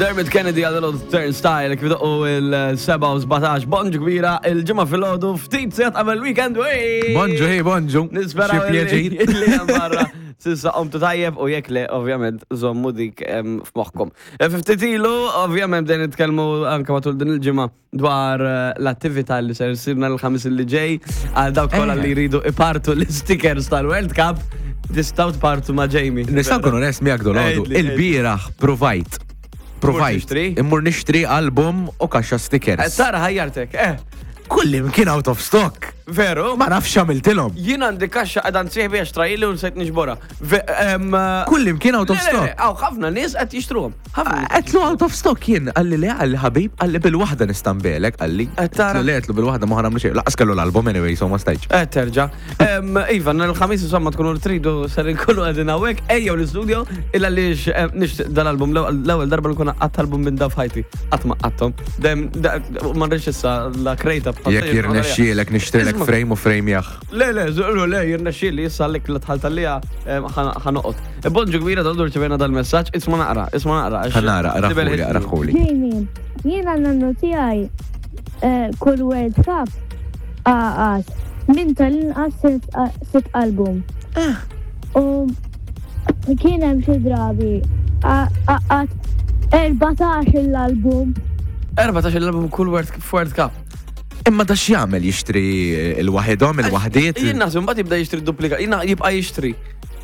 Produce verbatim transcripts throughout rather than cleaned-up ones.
Dermot Kennedy għal Turnstile kif doqqu il-sebgħa u sbatax. Bonġu kbira, il-Ġimgħa filgħodu, ftit sigħat qabel weekend. Wey! Bonġu, hey, bonġu. Nisperaw Xi pjaċir. li hemm barra s'issa qomtu tajjeb u jekk le, ovvjament, żommu dik em, f'moħħkom. E, Ftit ilu, ovvjament, bdejn nitkellmu anke matul din il-ġimgħa dwar eh, l-attività li ser issir nhar il-Ħamis li ġej għal dawk kollha Eh. li jridu ipartu l-stickers tal-World Cup, tistgħu tpartu ma' Jamie. Nista' nkun onest miegħek dolodu. Għidli, Il-bieraħ provajt. Provajt. Tixtri? Immur nixtri album u kaxxa Eh, stickers. Tara ħajjartek, eh, Kullim kien out of stock. Veru? Ma nafx għamiltilhom. Jien għandi kaxxa għadan sieħbi għax trajli u nsejt niġborha. Ve- em, eh, Kullim kien out of Le, le, le, stock. Għaw, ħafna nies qed jixtruhom. Ħafna nies. Għedtlu out of stock jien, qalli le, qalli ħabib, qalli bil-waħda nista' nbigħlek, qalli. Qed tara? Għedtlu le, għedtlu bil-waħda ma ħa nagħmlu xejn. Lanqas kellu l-album anyway, so ma stajtx. Eh, terġa. Em, Iva, nhar il-Ħamis insomma tkunu tridu ser inkunu qegħdin hawnhekk, ejjew l-istudio illa għaliex em, nixtieq dal-album l-ewwel darba nkun qatt album minn da f'ħajti. Qatt ma qattom. Dem da- ma rridx issa la krejta bħal Jekk jirnexxielek nixtrilek Isma'. Frame u frame jaħ. Le, le, żuru, le, jirnexxieli issa għalik li tħalt għalija ħa noqgħod. Bonġu kbira, dal rċevejna dal-messaġġ, isma' naqra, isma' naqra. Għax Ħa nara, tibel raħuli, ħitni. raħuli. Jamie, jiena nannu tiegħi eh, kull World Cup għaqas minn tal-inqas sitt- sitt album. U kien hemm xi drabi għaqad erbatax l-album. erbatax l-album kull World World Cup. Imma da x'jagħmel, jixtri il-waħedhom, il-waħdiet? Jien naħseb mbagħad jibda jixtri duplika, jien jibqa' jixtri.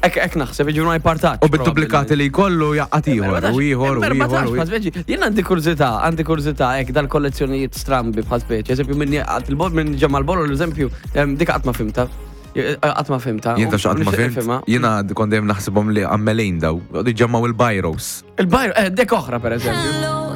Ek ek naħseb, jiġifieri ma jpartax. U bid-duplikati li jkollu jaqqat ieħor, u ieħor, u ieħor. u ieħor. Jien għandi kurżità, għandi kurżità hekk dal-kollezzjonijiet strambi bħal speċi. Eżempju, minni għat il-bol minn ġemma l-bol, l-eżempju, em, dik qatt ma fhimtha. Qatt ma fhimtha. Jien taf x'qatt ma Nixtieq fhimt, nifhimha. jiena kont dejjem naħsibhom li għammelin daw, ġemmaw il-bajros. Il-bajro, eh, dek oħra per eżempju.